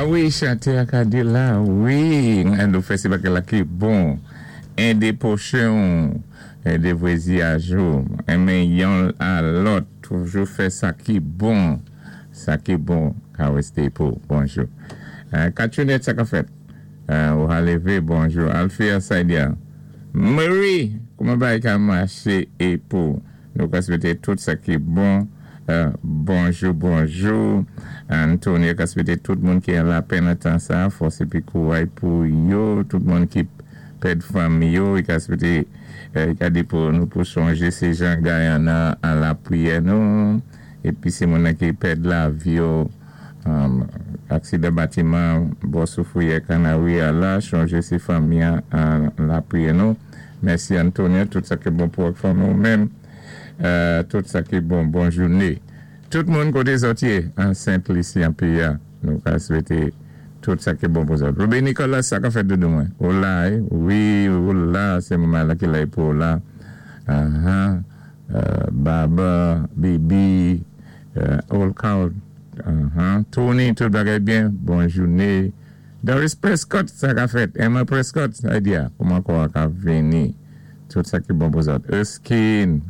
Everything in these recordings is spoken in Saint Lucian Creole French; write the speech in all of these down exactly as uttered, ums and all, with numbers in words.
A wi, chanté a ka di la, wi, an nou fè sé bagay la ki bon. Édé pwochen, édé vwazin ou, enmen youn a lòt, toujou fè sa ki bon. Sa ki bon, ka wésté pou. Bonjou. Euh, Kachounet, sa ka fèt. Euh, ou levé, bonjou. Alfia Saidia. Marie, kouman bagay ka maché é pou? Nou ka swété tout sa ki bon. Euh, bonjou, bonjou. Antonio ka swété tout moun ki an lapenn tan sa, fòs épi kouray pou yo, tout moun ki pèd fanmi yo, i ka swété euh, ka di pou nou pou sonjé sé jan Guyana an lapriyè nou, épi sé moun ki pèd lavi yo, um, aksidan batiman, bò Soufrière Kanari a la, sonjé sé fanmi an lapriyè nou. Mèsi Antonio, tout sa ki bon pou fanmi ou menm. Euh, tout sa ki bon, bon jouné. Tout moun koté zòt yé, an Sent Lisi an péyi a, nou ka swété tout sa ki bon pou zòt. Ruby Nicolas, sa ka fèt doudou mwen. Ou la, eh? Wi, ou la, sé moman la ki la pou ou la. Uh-huh. Euh, Baba, Bibi, euh, Old Cow, uh-huh. Tony, tout bagay byen, bon jouné. Doris Prescott, sa ka fèt. Emma Prescott, sa di a, kouman kwa ka vini. Tout sa ki bon pou zòt. Erskine,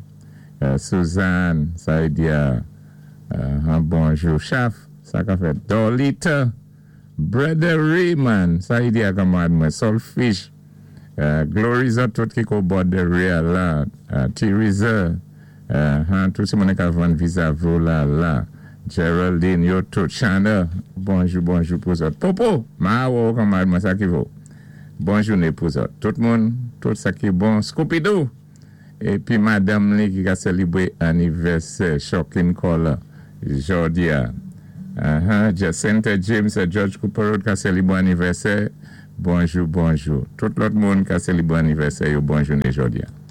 euh, Suzanne, sa di a, uh, bonjou. Chaf, sa ka fèt. Dolita, Brother Raymond, sa di a kanmarad mwen. Solfish, uh, Glory zòt tout ki ko border real la. Uh, Theresa, uh, huh, tout sé moun ka vann visa la la. Geraldine, yo tout. Shana, bonjou, bonjou pou zòt. Popo, ma wò kanmarad mwen sa ki vo. Bon jouné pou zòt. Tout moun, tout sa ki bon. Scooby-Doo. Épi madanm li ki ka sélébwé anivèsè, Shocking Caller, jòdi a. Uh-huh. Jacinta James a George Cooper Road ka sélébwé anivèsè. Bonjou, bonjou. Tout lòt moun ka sélébwé anivèsè yo bon jouné jòdi a.